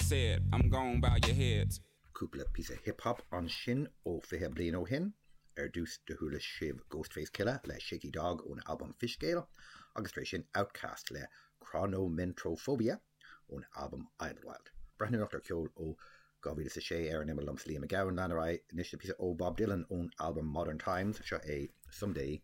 said, I'm gone, bow your heads. Cúpla píosa hip hop ansin ó 20 bliain ó shin. Ar dtús do chuala sibh Ghostface Killah le Shaky Dog ón albam Fishscale agus tar éis sin Outkast le Chronomentrophobia ón albam Idlewild. Breathnóireacht ar cheol ó 2006 ar an imeall liomsa Liam Mac Gabhann. Lean ar aghaidh anois le píosa ó Bob Dylan ón albam Modern Times. Seo é Someday.